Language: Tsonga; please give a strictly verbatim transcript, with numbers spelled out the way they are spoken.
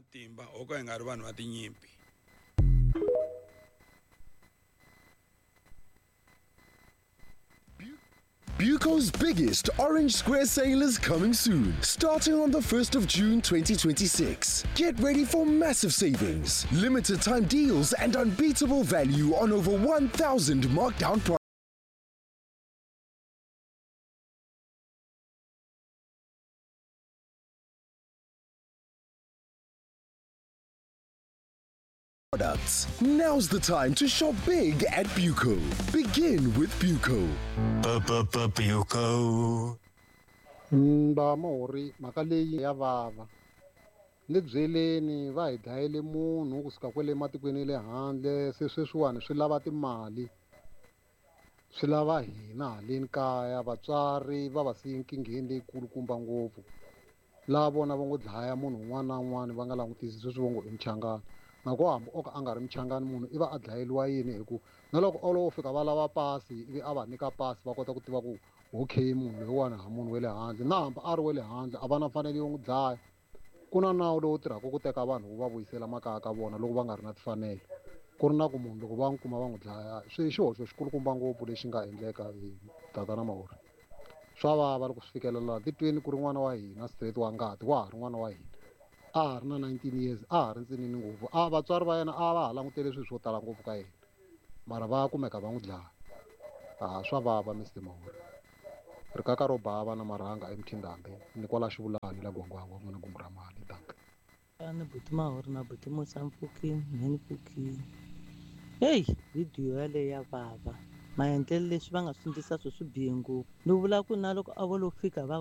Matimba ho ka hi nga ri vanhu va tinyimpi. Buco's biggest Orange Square sale is coming soon, starting on the first of June twenty twenty-six. Get ready for massive savings, limited time deals, and unbeatable value on over one thousand markdown products. Products. Now's the time to shop big at Buco. Begin with Buco. Buco. Mba Mahori, mhaka leyi ya vava. Ni byeleni va hi dlayele munhu kusuka kwale matikweni ya le handle, se sweswiwani swi lava timali. Swi lava hina haleni kaya, vatswari va va siye nkingheni leyikulukumba ngopfu. Laha vona va ngo dlaya munhu un'wana na un'wana va nga langutisi sweswi va ngo i muchangana. Na ku hambi o ka a nga ri muchangani munhu i va a dlayeriwa yini hi ku na loko o lowo fika va lava pasi ivi a va nyika pasi va kota ku tiva ku okay munhu loyiwani ha munhu wa le handle, na hambi a ri wa le handle a va na mfanelo yo n'wi dlaya. Ku na nawu lowu tirhaka ku teka vanhu wu va vuyisela makaya ka vona loko va nga ri na timfanelo, ku ri na ku munhu loko va n'wi kuma va n'wi dlaya swi xihoxo xikulukumba ngopfu lexi nga endleka hi tatana Mahori. Swa vava loko swi fikelela titweni ku ri n'wana wa hina straight wa ngati wa ha ri n'wana wa hina, a ha ri na nineteen years, a ha ri ntsinini ngopfu, a vatswari va yena a va ha langutele swilo swo tala ngopfu ka yena, mara va kumeka va n'wi dlaya. A swa vava Mister Mahori. Rikaka ro bava na marhanga emtindambe ni kwala xivulani la gwangwangwa n'wana gungu ra mali danke. Ni buti Mahori na buti Musa mpfukini, mhe ni pfukini. Hey, video yaleyo ya vava. Maendlelo leswi va nga swi endlisa swo swi bihe ngopfu. Ni vula ku na loko a vo lo fika va